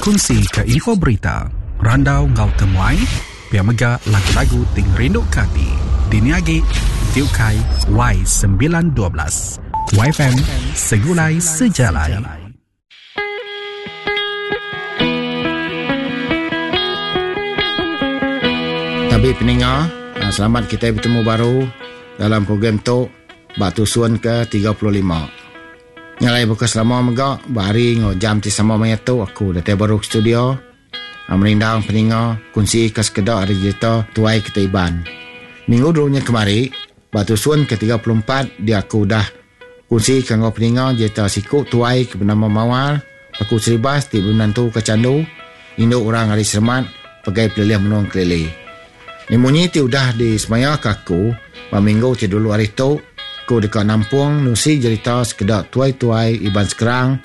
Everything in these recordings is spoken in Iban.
Bekunsi ke info berita, randau enggau temuai, pia mega lagu-lagu ti ngerinduka ati. Dini agi ti ukai Y 912. YFM Segulai Sejalai. Tabi peninga, ah, selamat kita betemu baru dalam program tu ba tusun ke 35. Nya alai baka selama mega ba hari enggau jam ti sama maya tu aku datai baru ke studio merindang peninga kunsi ka sekeda ari jerita tuai kitai Iban. Minggu dulu nya kemari ba tusun ke 34 dia aku udah kunsi ka enggau peninga jerita siku tuai ke benama Mawar Paku Seribas ti bemenantu ka Chandu indu orang ari Seremat pegai pelilih menua Engkelili. Ni munyi ti udah disemayaka aku ba minggu ti dulu hari tu, aku deka nampung nusi jerita sekeda tuai-tuai Iban Skrang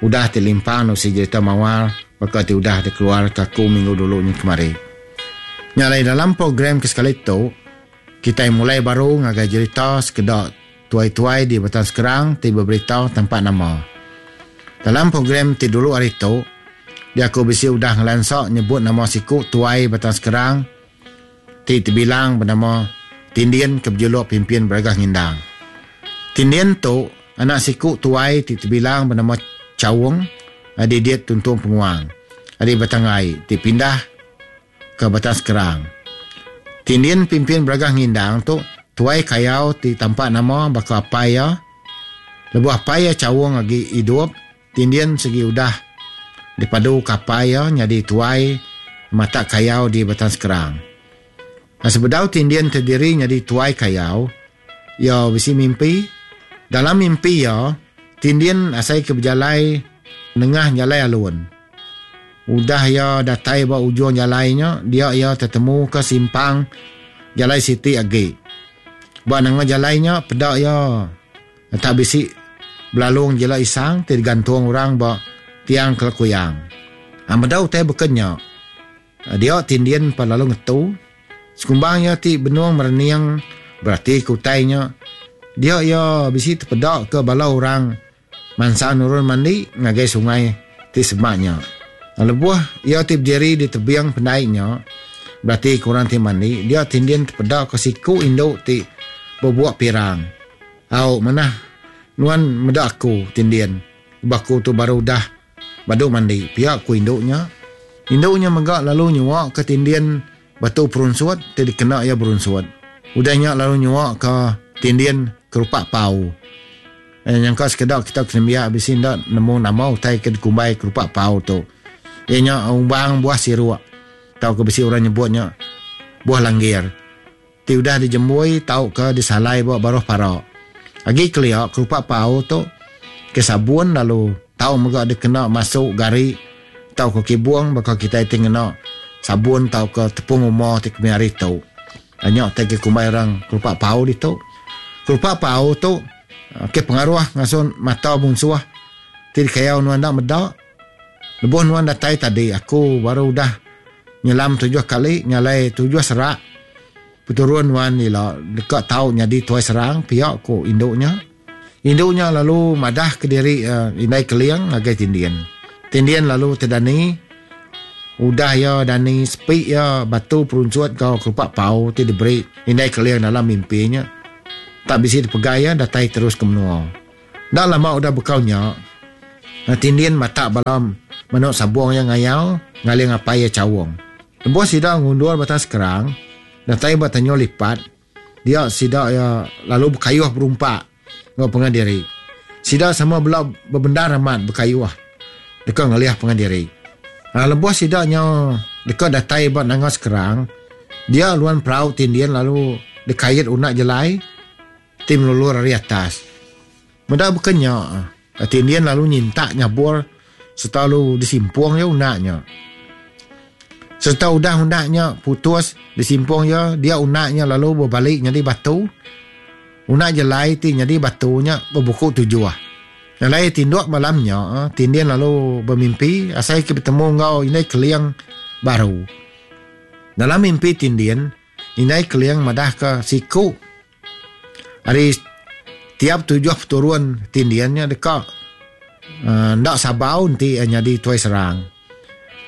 udah ti limpang nusi jerita Mawar baka ti udah dikeluarka aku minggu dulu nyin kemari. Nya alai dalam program ke sekali tu, kitai mulai baru ngagai jerita sekeda tuai-tuai di Batang Skrang ti beberita tampak nama. Dalam program ti dulu hari tu, Dia aku bisi udah ngelansa nyebut nama siku tuai Batang Skrang ti tebilang benama Tindin ke bejuluk Pimpin Beragah Ngindang. Tindin tu anak siku tuai ti tebilang benama Chaung Didit Tuntung Penguang ari Batang Ai ti pindah ke Batang Skrang. Tindin Pimpin Beragah Ngindang tu tuai kayau ti tampak nama baka apai iya. Lebuh apai iya Chaung agi idup, Tindin sigi udah dipadu kapai iya nyadi tuai matak kayau di Batang Skrang. Sebedau Tindin tediri nyadi tuai kayau, iya bisi mimpi. Dalam mimpi iya, Tindin asai ke bejalai nengah jalai alun. Udah iya datai ba ujung jalai nya, dia iya tetemuka simpang jalai siti agi. Ba nengah jalai nya, peda iya Enta bisi belalung jila isang ti digantung orang ba tiang kelekuyang. Meda utai beken nya, dia Tindin pan lalu ngetu. Sekumbang iya ti benung merening beratika utai nya, dia iya bisi tepedaka bala orang mansang nurun mandi ngagai sungai ti semak nya. Lebuh iya ti bediri di tebing pendai nya beratika orang ti mandi, dia Tindin tepedaka siku indu ti bebuk pirang. Au manah nuan meda aku Tindin ba aku tu baru udah badu mandi pia ku indu nya. Indu nya mega lalu nyua ka Tindin batu perunsut ti dikena iya berunsut. Udah nya lalu nyua ka Tindin kerupak pau. Nyangka sekeda kita ke nembiak bisi enda nemu nama utai ke dikumbai kerupak pau tu. Iya nya umbang buah siruk tauka bisi orang nyebut nya buah langgir. Ti udah dijembui tauka disalai ba baruh para. Agi kelia kerupak pau tu ke sabun lalu tau mega dikena masu gari tauka kibung baka kitai ti ngena sabun tauka tepung uma ti kemaya hari tu. Nya utai ke kumbai orang kerupak pau ditu. Kerupak pau tu ke pengaruh ngasuh mata munsuh ti dikayau nuan enda meda. Lebuh nuan datai tadi aku baru udah nyelam tujuh kali nyalai tujuh serak peturun nuan ila deka tau nyadi tuai serang pia ku indu nya. Indu nya lalu madah kediri indai Keling ngagai Tindin. Tindin lalu tedani udah iya dani sepi iya batu perunsut enggau kerupak pau ti diberi indai Keling dalam mimpi nya tak bisi dipegai iya datai terus ke menua. Enda lama udah bekau nya, Tindin matak bala manuk sabung iya ngayau ngaling apai iya Chaung. Lebuh sida ngundur Batang Skrang, datai ba Tanjung Lipat, dia sida iya lalu bekayuh berumpak enggau pangan diri. Sida sama bela bebendar amat bekayuh deka ngalih pangan diri. Lebuh sida nyau deka datai ba Nanga Skrang, dia luan perau Tindin lalu dikait unak jelai. Ti melulur ari atas. Meda baka nya, Tindin lalu nyintak nyabur sereta lalu disimpung iya unak nya. Sereta udah unak nya putus disimpung iya, dia unak nya lalu bebali nyadi batu. Unak jelai ti nyadi batu nya bebuku tujuh. Alai tinduk malam nya, Tindin lalu bemimpi asai ke betemu enggau Indai Keling baru. Dalam mimpi Tindin, Indai Keling madahka siku ari tiap tujuh peturun Tindin nya deka enda sabau enti iya nyadi tuai serang.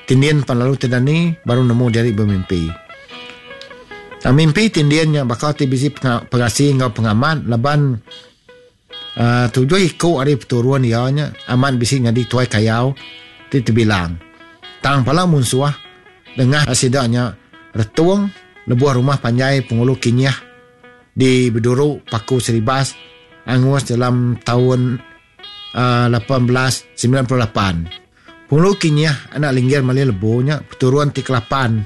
Tindin pan lalu tedani baru nemu diri bemimpi. Tang mimpi Tindin nya baka ti bisi pengasi enggau pengamat laban uhh tujuh iku ari peturun iya nya amat bisi nyadi tuai kayau ti tebilang. Tang pala munsuh dengah sida nya retung lebuh rumah panjai Pengulu Kinyih di Beduru Paku Seribas angus dalam taun 1898. Pengulu Kinyih anak Linggir Mali Lebu nya peturun ti kelapan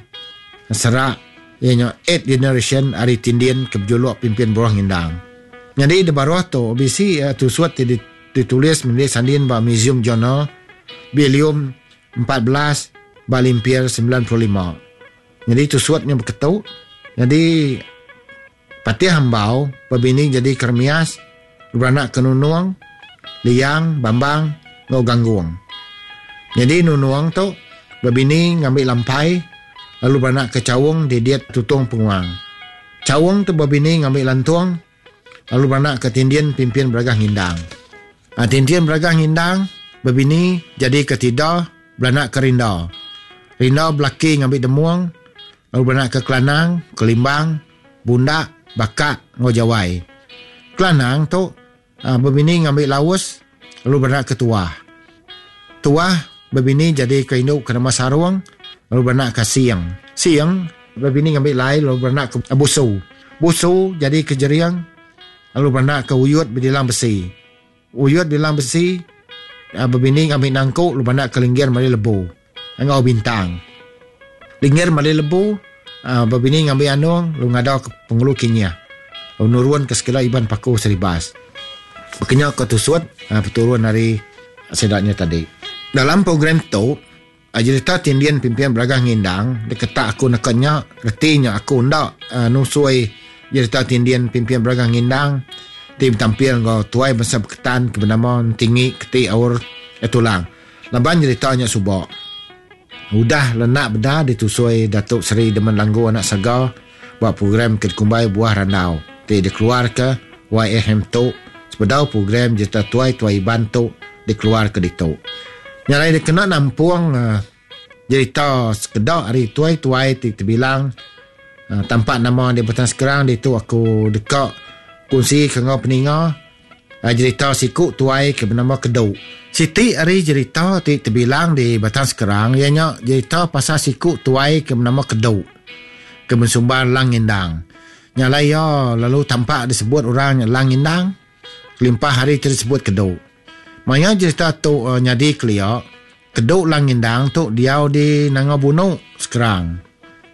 serak iya nya eighth generation ari Tindin ke bejuluk Pimpin Buruh Ngindang. Nyadi di baruh tu bisi tusut ti ditulis Mendi Sandin ba Museum Journal Volume 14 ba Limpir 95. Nyadi tusut nya beketu nyadi Patih Ambau bebini jadi Kermias, beranak ke Nunung, Liang, Bambang enggau Ganggung. Nyadi Nunung tu bebini ngambi Lampai lalu beranak ke Chaung Didit Tutong Penguang. Chaung tu bebini ngambi Lantung lalu beranak ke Tindin Pimpin Beragah Ngindang. Tindin Beragah Ngindang bebini jadi ke Tida beranak ke Rinda. Rinda belaki ngambi Demung Lalu beranak ke Kelanang, Kelimbang, Bundak, Bakak enggau Jawai. Kelanang tu bebini ngambi Laus lalu beranak ke Tuah. Tuah bebini jadi ke indu ke nama Sarung lalu beranak ke Sing. Sing bebini ngambi Lai lalu beranak ke Busu. Busu jadi ke Jering lalu beranak ke Uyut Bedilang Besi. Uyut Dilang Besi bebini ngambi Nangku lalu beranak ke Linggir Mali Lebu enggau Bintang. Linggir Mali Lebu bebini ngambi Anung lalu ngada ke Pengulu Kinyih lalu nurun ke sekeda Iban Paku Seribas. Bekenya ke tusut peturun ari sida nya tadi. Dalam program tu, jerita Tindin Pimpin Beragah Ngindang diketak aku neka nya reti nya aku enda nusui jerita Tindin Pimpin Beragah Ngindang ti betampil enggau tuai bansa Beketan ke benama Entingi Keti Aur Tulang laban jerita nya suba udah lenak bendar ditusui Datuk Seri Demen Langgu Anak Saga ba program ke dikumbai Buah Randau ti dikeluarka YFM tu sebedau program Jerita Tuai-Tuai Iban tu dikeluarka ditu. Nya alai dikena nampung jerita sekeda ari tuai-tuai ti tebilang tampak nama di Batang Skrang ditu aku deka kunsi ke enggau peninga jerita siku tuai ke benama Kedu. Siti ari jerita ti tebilang di Batang Skrang iya nya jerita pasal siku tuai ke benama Kedu ke bensumbar Lang Ngindang. Nya alai iya lalu tampak disebut orang nya Lang Ngindang kelimpah ari ti disebut Kedu. Maya jerita tu nyadi kelia, Kedu Lang Ngindang tu diau di Nanga Bunu, Skrang.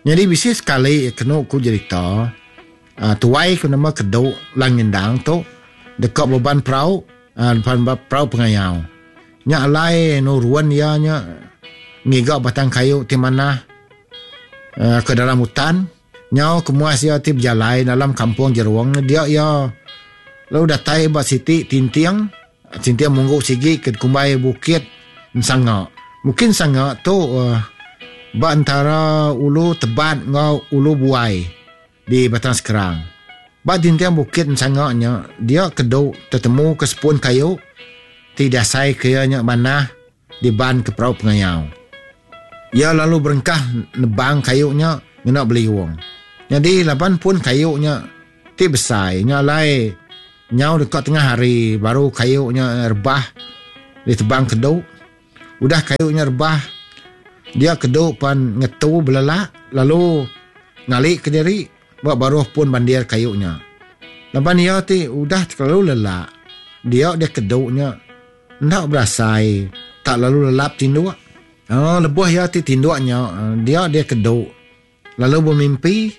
Nyadi bisi sekali kenu ku jerita, tuai ke nama Kedu Lang Ngindang tu deka beban perau, perau pengayau. Nya alai nurun iya nya ngiga batang kayu ti manah ke dalam utan. Nyau kemuas iya ti bejalai dalam kampung jerung dia iya lalu datai ba siti tinting, tinting munggu sigi ke dikumbai Bukit Ensanga. Bukit Ensanga tu ba entara Ulu Tebat enggau Ulu Buai di Batang Skrang. Ba tinting Bukit Ensanga nya dia kedu tetemu ke sepun kayu ti diasai ke iya nya manah diban ke perau pengayau. Iya lalu berengkah nebang kayu nya ngena beliung. Nyadi laban pun kayu nya ti besai nya alai nyau deka tengah hari baru kayu nya rebah ditebang kedu. Udah kayu nya rebah dia kedu pan ngetu belelak lalu ngali kediri ba baruh pun bandir kayu nya. Laban iya ti udah kelalu lelak dia deh kedu nya Enda berasai, tak lalu lelap tinduk. Lebuh iya ti tinduk nya, dia dia kedu lalu bemimpi.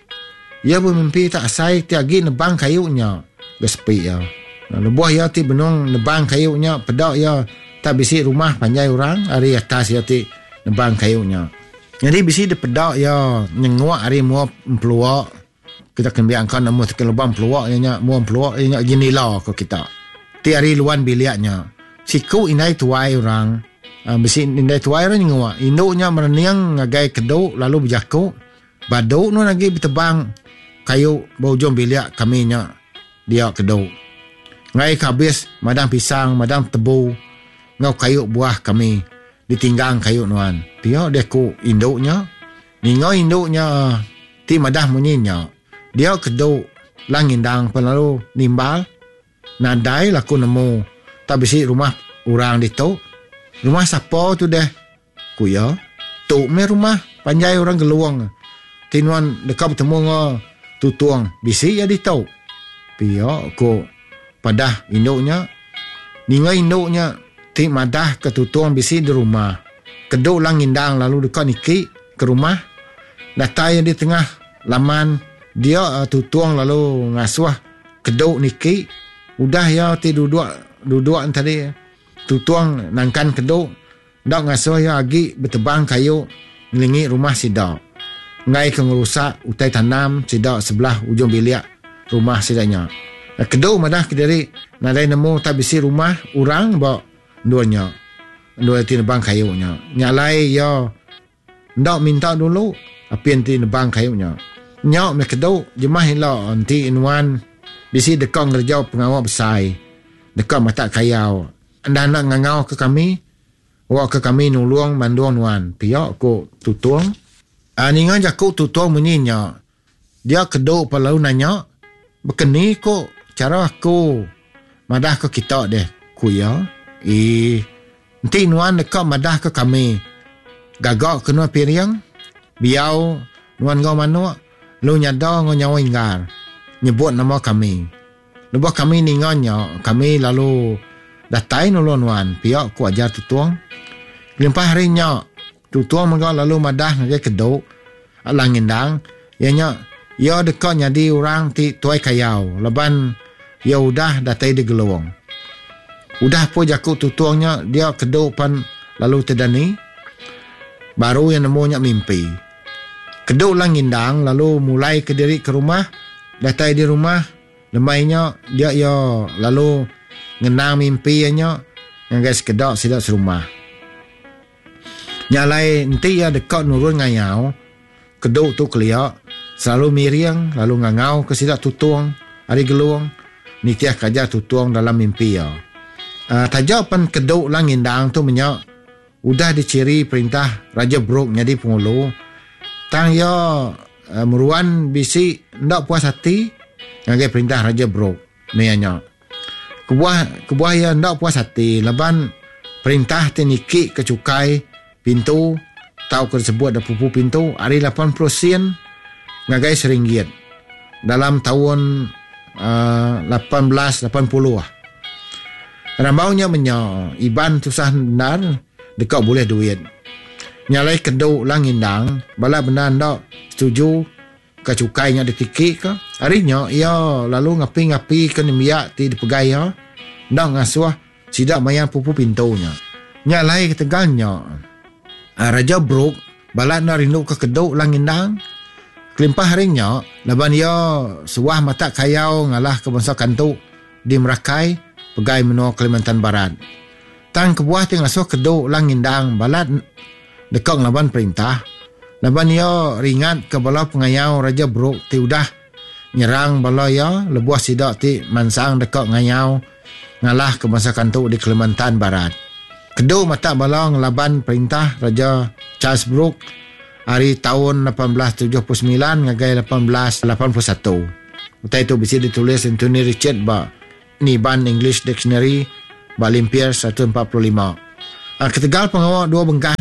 Iya bemimpi tak asai ti agi nebang kayu nya ga sepi iya. Lebuh iya ti benung nebang kayu nya, peda iya tak bisi rumah panjai orang ari atas iya ti nebang kayu nya. Nyadi bisi dipeda iya nyenguk ari mua empelua. Kita kena biangka nemu teken lubang pelua iya nya mua pelua iya nya jendela ko kita. Ti ari luan bilik nya siku indai tuai orang bisi indai tuai orang nyenguk indu nya merening ngagai kedu lalu bejaku badu nuan agi betebang kayu ba ujung bilik kami nya dia kedu. Enggai ke abis madang pisang madang tebu enggau kayu buah kami. ditinggang kayu nuan. Pia deh ku indu nya. Ninga indu nya ti madah munyi nya, dia kedu Lang Ngindang pen lalu nimbal, Nadai lah ku nemu tak bisi rumah orang ditu. Rumah sapa tu deh? Ku iya. Tu meh rumah panjai orang Gelung ti nuan deka betemu enggau Tutong bisi iya ditu. Pia ku padah indu nya. Ninga indu nya ti madah ke Tutong bisi di rumah. Kedu Lang Ngindang lalu deka niki ke rumah. Datai iya di tengah laman dia Tutong lalu ngasuh Kedu niki. Udah iya ti duduk duduk tadi Tutong nangkan Kedu. Enda ngasuh iya agi betebang kayu ngelingi rumah sida, enggai ke ngerusak utai tanam sida sebelah ujung bilik rumah sida nya. Kedu madah kediri nadai nemu tak bisi rumah orang ba endur nya, endur ti nebang kayu nya. Nya alai iya Enda minta dulu apin ti nebang kayu nya. Nya meh kedu jemah ila enti nuan bisi deka ngereja pengawa besai deka matak kayau enda enda ngangau ke kami awakka kami nulung mandung nuan pia ku Tutong. Ninga jaku Tutong munyi nya dia kedu pa lalu nanya bekeni ku chara aku madah ke kita deh ku iya. Ii Enti nuan deka madahka kami, gaga ke nuan piring, biau nuan enggau manuk, lalu nyada enggau nyawa inggar, nyebut nama kami. Lebuh kami ninga nya, kami lalu datai nulung nuan, pia ku ajar Tutong. Kelimpah ari nya, Tutong mega lalu madah ngagai Kedu, Alang Ngendang, iya nya iya deka nyadi orang ti tuai kayau laban iya udah datai di Gelong. Udah pun jaku Tutong nya dia Kedu pan lalu tedani. Baru iya nemu nya mimpi. Kedu Lang Ngindang lalu mulai ke diri ke rumah. Datai di rumah lemai nya dia iya lalu ngenang mimpi iya nya ngagai sekeda sida serumah. Nya alai enti iya deka nurun ngayau, Kedu tu kelia selalu miring lalu ngangauka sida Tutong ari Gelong nitihka ajar Tutong dalam mimpi iya. Taja pen Kedu Lang Ngindang tu menya udah dichiri perintah Raja Brooke nyadi pengulu tang iya meruan bisi enda puas ati ngagai perintah Raja Brooke maya nya. Kebuah kebuah iya enda puas ati laban perintah ti niki ke chukai pintu tauka disebut da pupu pintu ari 80 sen ngagai seringgit dalam taun uhh 1880. Rambau nya menya Iban tusah bendar deka bulih duit. Nya alai kedu Lang Ngindang bala bendar enda setuju. Ka chukai nya ditiki ka. Ari nya iya lalu ngapi-ngapi ke nembiak ti dipegai iya enda ngasuh sida mayar pupu pintu nya. Nya alai ketegal nya, Raja Brooke balat enda rinduka Kedu Lang Ngindang. Kelimpah ari nya, laban iya suah matak kayau ngalahka bansa Kantu di Merakai pegai menua Kalimantan Barat. Tang kebuah ti ngasuh Kedu Lang Ngindang balat deka ngelaban perintah laban iya ringatka bala pengayau Raja Brooke ti udah nyerang bala iya lebuh sida ti mansang deka ngayau ngalahka bansa Kantu di Kalimantan Barat. Kedu matak bala ngelaban perintah Raja Charles Brooke ari taun 1879 ngagai 1881. Utai tu bisi ditulis Anthony Richard ba Niban English Dictionary ba Limpir 145. Ketegal pengawa dua bengkah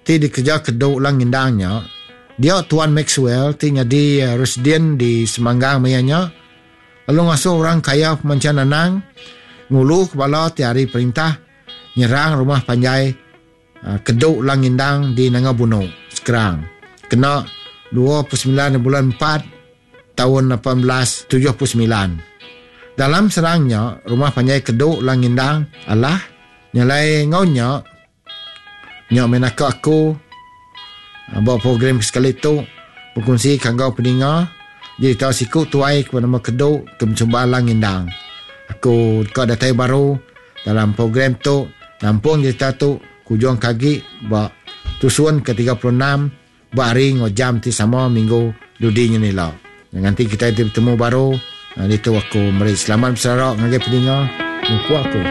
ti dikereja Kedu Lang Ngindang nya, dia Tuan Maxwell ti nyadi Residen di Semanggang maya nya lalu ngasuh orang kaya Pemancha Nanang nguluka bala ti ari perintah nyerang rumah panjai Kedu Lang Ngindang di Nanga Bunu, Skrang kena 29 bulan empat taun 1879. Dalam serang nya, rumah panjai Kedu Lang Ngindang alah nyelai enggau nya. Nya meh naka aku ba program ke sekali tu bekunsi ka enggau peninga jerita siku tuai ke benama Kedu ke bechumba Lang Ngindang. Aku deka datai baru dalam program tu nampung jerita tu kujung ke agi ba tusun ke 36 ba hari enggau jam ti sama minggu dudi nyen ila. Nganti kitai ti betemu baru ditu aku meri selamat beserara ngagai peninga mupuk aku.